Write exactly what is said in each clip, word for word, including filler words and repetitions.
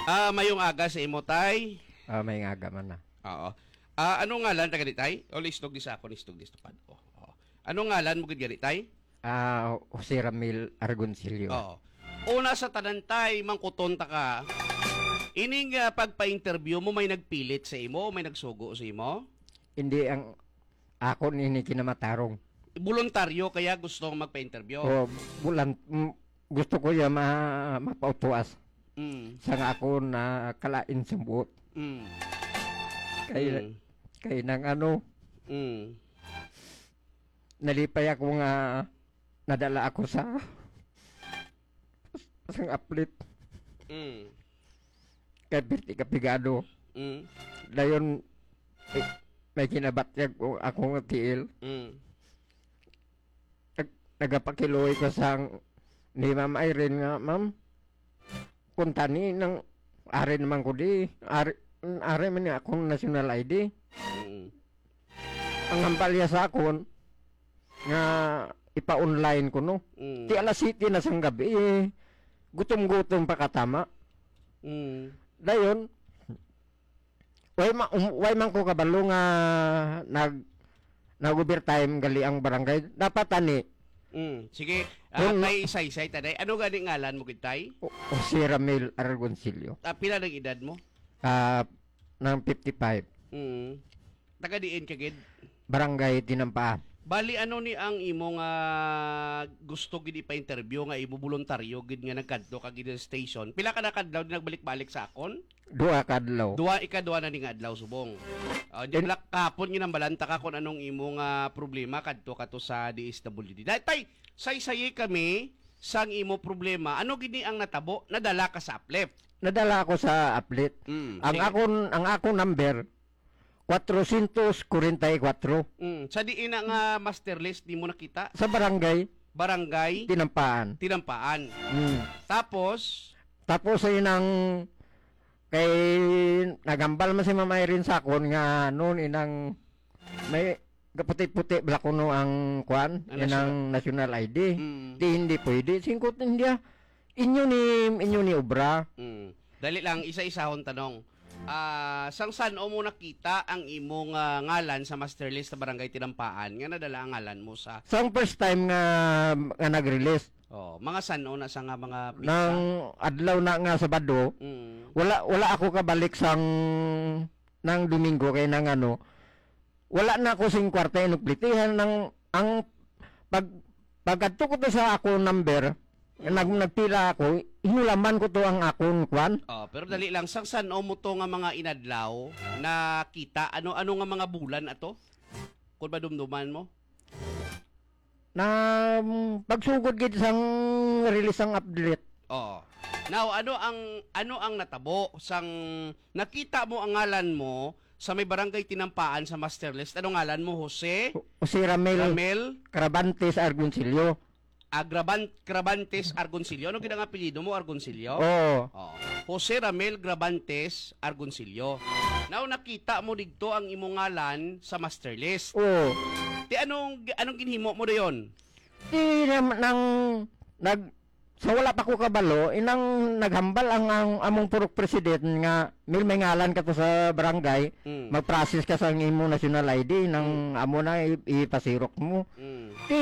Ah, mayong aga sa imo, tay. Ah, mayong aga man na. Oo. Ah, ano ngalan ta gani, tay? O, listog di sa akon, listog di sa pad. Oh, oh. Ano ngalan mo gid gani, tay? Ah, Jose Ramil Argoncillo. Oo. Una sa tanan, tay, mangkuton ta ka. Ining, ah, pagpa-interview mo, may nagpilit sa imo o may nagsugo sa imo? Hindi, ang akon ini kinamatarong. Boluntaryo kaya gusto magpa-interview? O, bulan, mm, gusto ko ya ma-, mapautuas Mm. sa nga ako na kalain sa buot. Mm. Kay, Mm. kay nang ano, Mm. nalipay ako nga nadala ako sa, sa aplit. Mm. Kay pirti ka pigado. Mm. Dayon, eh, may kinabatyag ko akong tiil. Mm. Nag-, nagapakiluoy ko sa ni Ma'am Irene nga, "Ma'am, kung tani nang ari naman ko di, ari, ari man ni akong national I D." Mm. Ang hambal niya sa akon nga ipa-online ko, no? Mm. Ti alas siyete na sang gabi, eh, gutom-gutom pa katama. Mm. Dayon, way ma-, um, way man ko kabalo nga nag-, nag-overtime gali ang barangay. Dapat ani. Mm. Sige, ah, Kung tay, saysay ta, day. Ano gani ngalan mo gid, tay? O-, Jose Ramil Argoncillo. Ah, pila nang edad mo? Ah, nang fifty-five. Mm. Taga diin ka gid? Barangay Tinampaan. Bali, ano ni ang imo nga gusto gid ipa-interview nga imo boluntaryo gid nga nagkadto ka gid sa station? Pila ka na kadlaw di nagbalik-balik sa akon? Duha ka adlaw. Duha, ikaduha na ni nga adlaw subong. Ah, di In- bala kapon ginambalanta ka kung anong imo nga problema kadto ka to sa D S W D. Dahil tay, saysayi kami sang imo problema. Ano gid ni ang natabo? Nadala ka sa uplift. Nadala ako sa aplit. Mm, Ang sige. akon, ang akon number, kwatro siyento kwarenta y kwatro. Mm, sa diin na nga master list di mo nakita? Sa barangay Barangay Tinampaan. Tinampaan. Mm. Tapos? Tapos ay nang kay nagambal man si Ma'am Irene sa akon nga noon inang may kaputi-puti bala kuno ang kuan, Ang inang national I D. Mm. Di hindi pwede. Singkot niya. Inyo ni, inyo ni obra. Mm. Dali lang, isa-isahon tanong. Ah, sang san-o mo nakita ang imong, ah, ngalan sa master list sa Barangay Tinampaan nga nadala ang ngalan mo sa Sang first time nga, nga nag-release. Oh, mga san-o na sa nga mga petsa? Nang adlaw na nga Sabado, Mm. wala, wala ako kabalik sang, nang Domingo kay nang ano, wala na ako sing kwarta inuplitihan nang ang pag, pagkadto ko to sa akong number, Mm. nag-, nagpila ako, hinulaman ko to ang akong kwan. Oh, pero dali lang, sang san-o mo to nga mga inadlaw nakita? Ano, ano nga mga bulan ato? Kung madumduman mo? Na, mm, pagsugod gid sang release sang update. Oo. Now, ano ang, ano ang natabo sang nakita mo ang ngalan mo sa may barangay Tinampaan sa master list? Ano ngalan mo? Jose? Jose Ramel Ramel? Carabantes Argoncillo. Agraban-, Crabantes Argoncillo. Ano gid ang apelyido mo, Argoncillo? Oo. Oo. Jose Ramel Grabantes Argoncillo. Now, nakita mo digto ang imong ngalan sa master list. Oo. Ti anong, anong ginhimo mo dayon? Ti nam-, nang nag-, sa wala pa ko kabalo, inang naghambal ang, ang among purok president nga, "Mil, may ngalan ka to sa barangay, Mm. mag-process ka sa imo national I D, nang Mm. amo na i-, ipasirok mo." Mm. Ti,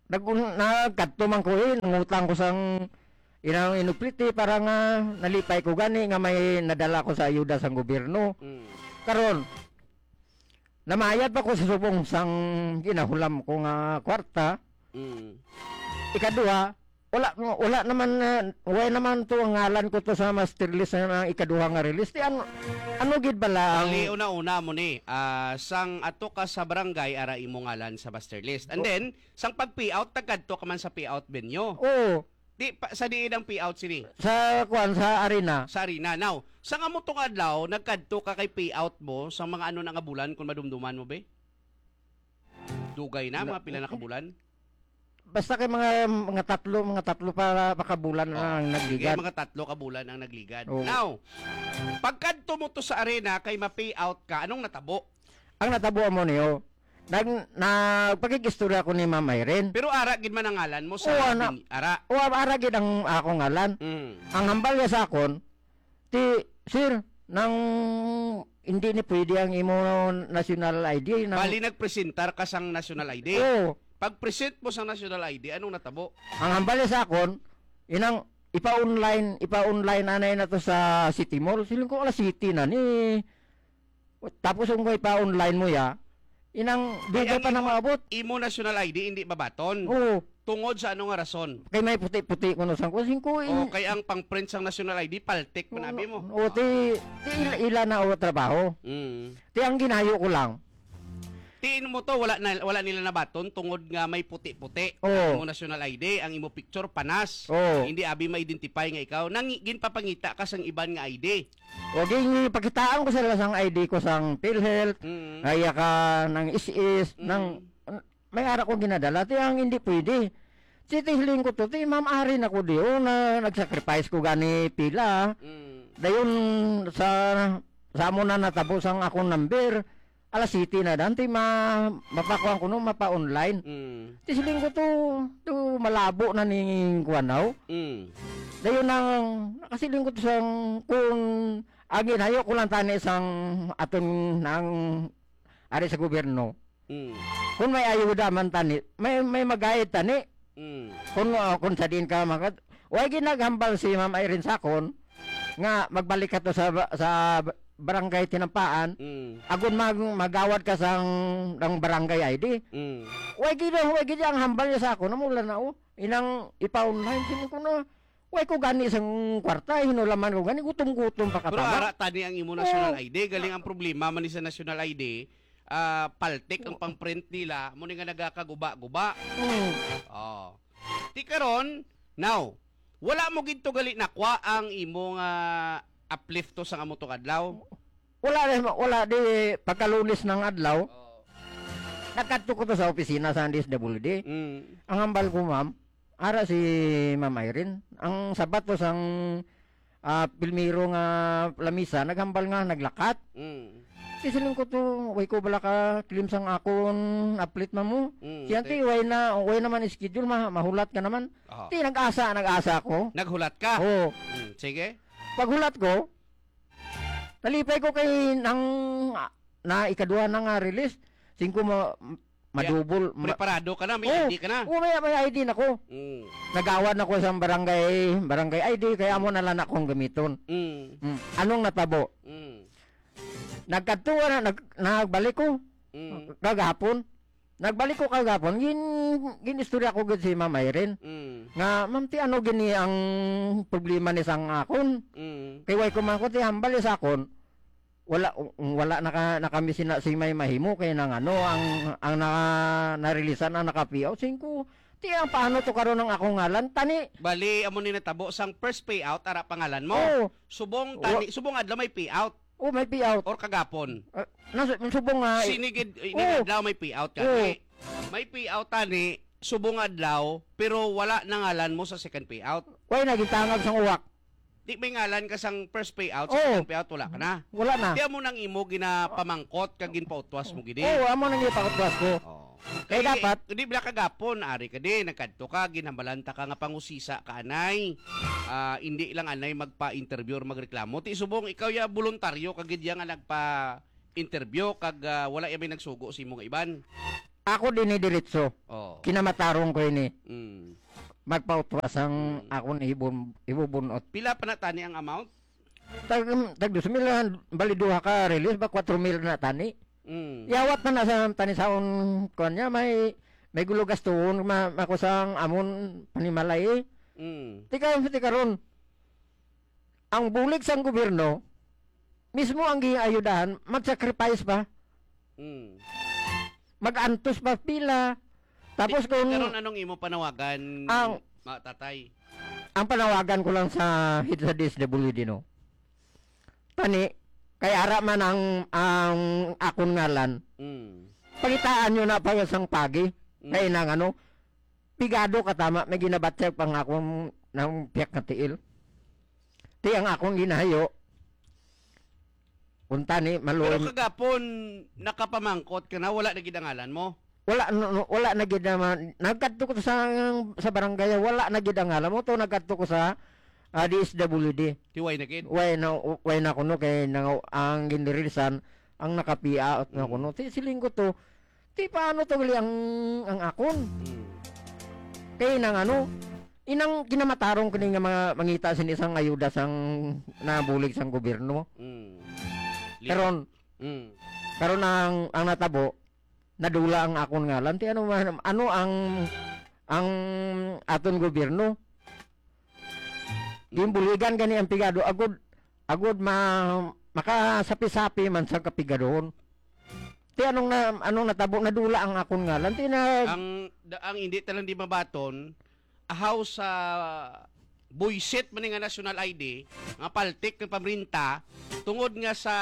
nag-, nagkadto man ko, eh, nangutang ko sang inang inupliti para nga nalipay ko gani nga may nadala ko sa ayuda sang gobyerno. Mm. Karon, namayad pa ko sa subong sang ginahulam ko nga kwarta. Mm. Ikaduha, wala, wala naman, ah, wala naman to ang ngalan ko to sa master list na ikaduha nga release. Ti ano, ano gid bala ang Dali, una-una mo ni, ah, sang ato ka sa barangay, ara imo ngalan sa master list. And O- then, sang pag-payout, nagkadto ka man sa payout venue. Oo. Di pa, sa diin ang payout sini? Sa, kuwan, sa arena. Sa arena. Now, sa nga mo tong adlaw, nagkadto ka kay payout mo sa mga ano na nga bulan, kung madumduman mo, be? Dugay na, Na-, mga pila na ka bulan? Basta kay mga, mga tatlo, mga tatlo pa, pa ka bulan Oh, na ang sige, nagligad. Mga tatlo ka bulan ang nagligad. Oo. Now, pagkadto mo to sa arena kay ma-payout ka, anong natabo? Ang natabo mo niyo, nag-, nagpakig-istorya ko ni Ma'am Irene. Pero ara gid man ang ngalan mo sa Oo, ana. Bin-, ara. Oo, ara gid ang akong ngalan. Mm. Ang hambal niya sa akon, "Eh, sir, nang hindi ni pwede ang imo national I D, nang" Bali, nagpresentar ka sang national I D. Oo. Pag-present mo sang national I D, anong natabo? Ang hambal sa akon, inang ipa-online, ipa-online anay na to sa City Mall. Siling ko, "Alas siyete na ni." Tapos kung ipa-online mo ya, inang Kay dugay ang pa na imo, maabot. Imo national I D, hindi babaton. Oo. Tungod sa ano nga rason? Kay may puti-puti kuno sang kusin ko, O in- kay ang pang-print sang national I D, paltik man abi mo. O, ti, ti ila, ila na o trabaho. Mm. Ti ang ginayo ko lang. Tiin mo to, wala na, wala nila nabaton tungod nga may puti-puti Oo. ang imo national I D, ang imo picture panas. Oo. Hindi abi ma-identify nga ikaw. Nang ginpapangita ka sang iban nga I D. O, gin-, pakitaan ko sila sang I D ko sang PhilHealth, Mm. kaya ka ng S S, Mm. ng, may ara ko ginadala, ti ang hindi pwede. Si ti hiling ko to, ti ma'am, ari na ko di, o, na nag-sacrifice ko gani pila. Mm. Dayon sa, sa amo na natabo sang akong number, alas siyete na dan, ti ma-, mapakuan ko no, mapa-online. Mm. Ti siling ko to, to malabo na ning kuan daw. Mm. Dayon ang nakasiling ko to sang kung ang ginayo ko lang tani sang aton nang ari sa gobyerno. Mm. Kung may ayuda man tani, may, may magayad tani. Mm. Kung, uh, kung sa diin ka makat-, way ginaghambal si Ma'am Irene Sacon nga magbalik ka to sa ba-, sa barangay Tinampaan, Mm. agon mag-, magawad ka sang, ng barangay I D. Mm. Way gid, way gid ang hambal niya sa akon, namula na, oh. Inang ipa-online, sino ko na, way ko gani sang kwarta, hinulaman ko gani, gutom-gutom pa Pero katama. Ara tani ang imo national Oh. I D, galing ang problema man ni sa national I D, ah, paltik ang pang-print nila, mo ni nga nagakaguba-guba. Mm. Oh. Ti karon, now, wala mo gid to gali nakwa ang imo nga uplift to sa amo to adlaw? Wala rin, wala di pagkalunes ng adlaw. Oh. Nagkadto ko to sa opisina sa D S W D. Mm. Ang hambal ko, ma'am, ara si Ma'am Irene. Ang sabat to sang, ah, pilmiro nga lamisa, naghambal nga naglakat. Mm. Ti siling ko to, way ko bala ka claim sang akon uplift, ma'am, mo. Mm, Siya, okay. Ti, way na, way naman schedule, ma-, mahulat ka naman. Aha. Ti, nag-asa, nag-asa ko. Naghulat ka? Oo. Mm, sige. Paghulat ko, nalipay ko kay nang, ah, na ikaduha na nga release, singko ma-, madubol, ma- Preparado ka na, may Oh, I D ka na. Oh, may, may I D na ko. Mm. Nagawad na ko sa barangay, barangay I D, kaya amo na lang akong gamiton. Mm. Mm. Anong natabo? Mm. Nagkadto na, nag-, nagbalik ko. Mm. Kagahapon. Nagbalik ko kagahapon, gin-, gin-istorya ko gid si Ma'am Irene. Mm. Nga, "Ma'am, ti ano gini ang problema ni sang akon?" Mm. Kay way ko man ko ti hambal sa akon. Wala, wala na ka, na kami sina-, si may mahimo kay nang ano, ang, ang na-, narilisan ang naka-payout. Singko, ti ang paano to karon ang akong ngalan? Tani. Bali, amo ni natabo sang first payout, ara pangalan mo. Oo. Subong Wa- tani, subong adlaw may payout. Oh, may payout. Or kagapon. Ah, nas-, subong nga, eh. Sini gid, ini Oo. adlaw may payout ka. Oo. May payout tani, subong adlaw, pero wala na ngalan mo sa second payout. Way na gitangag sang uwak. Di may ngalan ka sang first payout, sa Oo. second payout, wala ka na. Wala na. Di amo nang imo ginapamangkot kag ginpautwas mo gid, eh. Oo, amo nang ginpautwas ko. Oo. Kay Kay dapat di bala kagapon, ari ka di, nagkadto ka, ginhambalan ta ka nga pangusisa ka, anay. Ah, indi lang anay magpa-interview or magreklamo. Ti subong ikaw ya voluntaryo ka gid ya nga nagpa-interview kag, ah, wala ya may nagsugo sa imo nga iban. Ako din ni diretso. Oo. Kinamatarong ko ini. Mm. Magpautwas ang Mm. akon ibon-, ibubunot. Pila pa na tani ang amount? Tag, tag dos mil, ah, bali duha ka release ba, kwatro mil na tani. Mm. Yawat na na sa tani saon, kuwan niya, may, may gulo gastuhon, ma-, makusang amon panimalay, eh. Mm. Tika, tika ron, ang bulig sang gobyerno, mismo ang giayudahan, mag-sacrifice pa. Mm. Mag-antos pa pila. Tapos Di, kung karon anong imo panawagan, Ang ma-, tatay? Ang panawagan ko lang sa head sa D S W D, no? Tani, kay ara man ang, ang akon ngalan. Mm. Pangitaan nyo na pa sang pagi. Mm. Kay nang ano, pigado ka tama, may ginabatyag pa nga akong nang piyak nga tiil. Ti ang akong ginahayo, kung tani, Pero maluoy kagapon, nakapamangkot ka na, wala na gid ang ngalan mo? Wala, no, no, wala na gid naman. Nagkadto ko sa, sa barangay, wala na gid ang ngalan mo. To, nagkadto ko sa, Ah, D S W D. Ti way na gid. Way na, way na kuno kay nang, ang ginreleasan ang nakapiaot na Mm. kuno. Ti siling ko to, ti paano to gali ang, ang akon? Mm. Kay nang ano, inang kinamatarong kini nga mga mangita sini sang ayuda sang nabulig sang gobyerno. Mm. Li- Karon, Mm. karon ang, ang natabo, nadula ang akon ngalan. Ti ano man, ano ang, ang aton gobyerno? Ginbuligan gani ang pigado, agud, agud ma-, makasapi-sapi man sa kapigadohon. Ti anong na, anong natabo, nadula ang akon ngalan. Ti na Ang, da-, ang hindi talang di mabaton, ahaw sa buisit man ni nga national I D, nga paltik nga pamrinta, tungod nga sa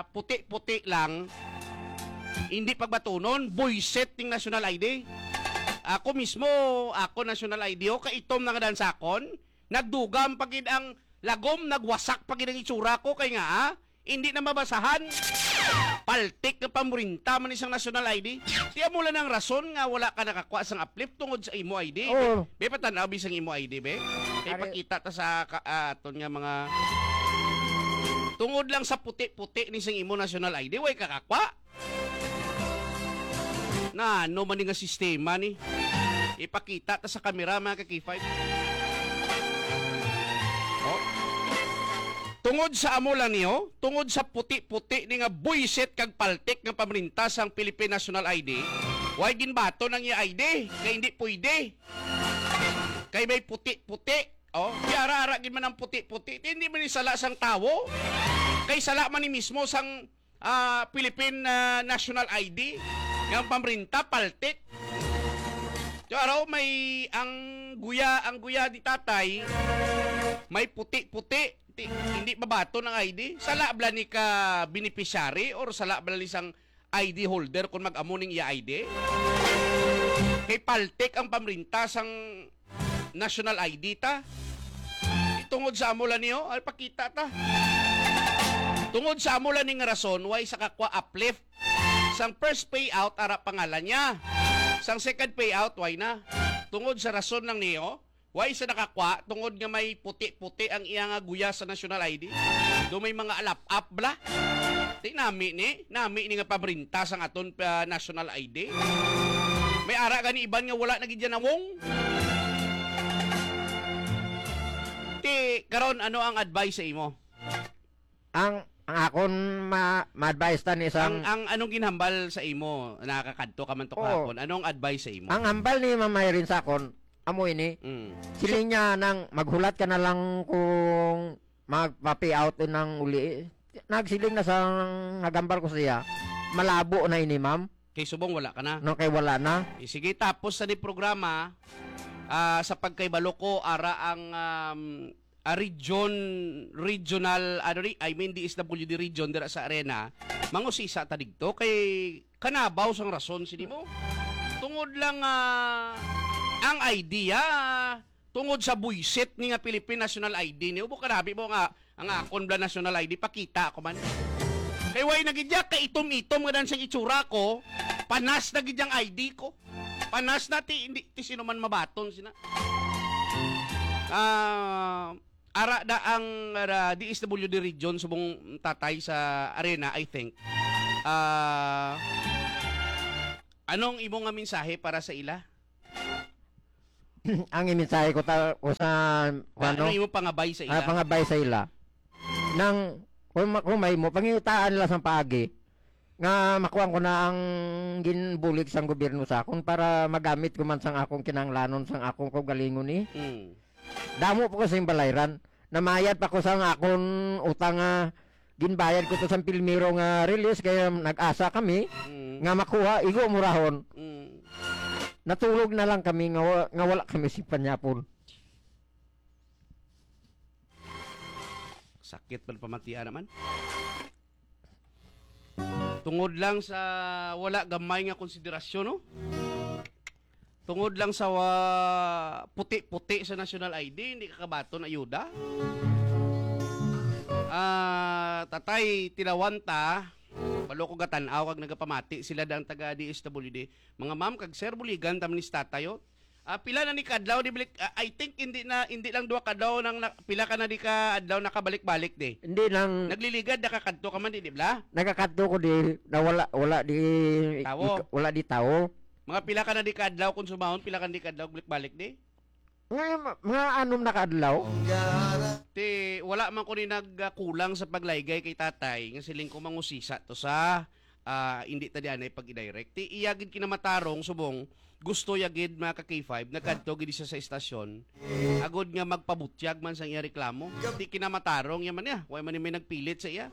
puti-puti lang, hindi pagbatunon, buisit ning national I D. Ako mismo, ako national I D, oh, kaitom na nga dansakon, nagdugam pa gid ang lagom, nagwasak pa gid ang itsura ko, kay nga, ah, hindi na mabasahan. Paltik nga pamrinta man isang national I D. Ti amo lang ang rason nga wala ka nakakwa sang uplift tungod sa imo I D, be. Oo. Be, patan-aw, be, sang imo I D, be. Kay Are- pakita ta sa ka-, ah, aton nga mga, tungod lang sa puti-puti ni sang imo national I D, way kakakwa. Na, ano man ni nga sistema ni? Ipakita ta sa kamera, mga ka-K five. Oh. Tungod sa amo lang niyo, tungod sa puti-puti ni nga buisit kag paltik nga pamrinta sang Philippine National I D, way ginbaton ang iya I D, kay hindi pwede. Kay may puti-puti. Oh, di ara-ara gid man ang puti-puti. Di, hindi man ni sala sang tawo. Kay sala man ni mismo sang, ah, Philippine, ah, National I D. Nga ang pamrinta, paltik. So, araw, may ang guya, ang guya ni tatay, may puti-puti. Ti-, hindi mabaton ang I D. Sala bala ni ka beneficiary or sala bala ni sang I D holder kung mag-amo ning iya I D? Kay paltik ang pamrinta sang national I D ta. Tungod sa amo lang niyo, ay pakita ta. Tungod sa amo lang ning rason, way sa kakwa uplift. Sang first payout, ara pangalan niya. Sang second payout, way na. Tungod sa rason lang niyo, way sa nakakwa, tungod nga may puti-puti ang iya nga guya sa national I D. Do may mga alap-ap bala. Ti nami ni, nami ni nga pabrinta sang aton pa national I D. May ara gani iban nga wala na gid yan nawong. Ti, karon, ano ang advice sa imo? Ang, ang akon ma-, ma-advise ta ni sang Ang, ang anong ginhambal sa imo? Nakakadto ka man to Oo. kahapon. Anong advice sa imo? Ang hambal ni Ma'am Irene sa akon, amo ini. Mm. Siling niya nang maghulat ka na lang kung magpa-pay out ng uli. Nagsiling na sa nagambal ko siya, malabo na ini, ma'am. Kay subong wala ka na. No, kay wala na. Eh, sige, tapos sa ni programa, ah, sa pagkaibalo ko, ara ang, um, ah, region, regional, ano ni, I mean, D S W D region dira sa Arena, mangusisa ta digto kay kanabaw sang rason sini mo. Tungod lang, ah, ang idea, tungod sa buisit ni nga Philippine National I D ni, ubo ka nabi mo nga ang akon bala national I D, pakita ako man. Kay way na gid ya, kaitom-itom nga dan sang itsura ko, panas na gid yang I D ko. Panas na ti, hindi ti sino man mabaton sina. Ah, ara da ang, ah, D S W D region subong tatay sa Arena, I think. Ah, anong imo nga mensahe para sa ila? Ang imensahe ko ta-, ko sa, Ano ano? imo pangabay sa Ah, ila? pangabay sa ila. Nang, kung ma-, kung may mo, pangitaan nila sang paagi, nga makuha ko na ang ginbulig sang gobyerno sa akon para magamit ko man sang akong kinahanglanon, sang akong kaugalingon, eh. Mm. Damo pa ko sing balayran. Namayad pa ko sang akon utang nga ginbayad ko to sang pilmiro nga release, kay nag-asa kami Mm. nga makuha, igo murahon. Mm. Natulog na lang kami nga wa-, nga wala kami sing panyapon. Sakit man pamatian naman. Tungod lang sa wala gamay nga konsiderasyon, no? Tungod lang sa wa-, puti-puti sa national I D, hindi ka kabaton ayuda. Ah, tatay, tilawan ta. Balo ko gatan-aw kag nagapamati sila dang taga D S W D. Mga ma'am kag sir, buligan ta man ni si tatay, oh. Ah, pila na ni ka adlaw di balik? Ah, I think hindi na, hindi lang duha ka adlaw nang na, pila ka na di ka adlaw nakabalik-balik di. Hindi lang Nagliligad, nakakadto ka man di, di ba? Nakakadto ko di na wala wala di Tawo. Wala di tawo. Mga pila ka na di ka adlaw kung sumahon, pila ka na di ka adlaw balik-balik di? Nga mga anom na ka adlaw. Ti wala man ko ni nagkulang sa paglaygay kay tatay nga siling ko mangusisa to sa ah, hindi ta di anay pag-direct. Ti iya gid kinamatarong subong gusto ya gid mga ka K five nagkadto gid siya sa estasyon agod nga magpabutyag man sang iya reklamo. Ti kinamatarong ya man niya, way man ni may nagpilit sa iya.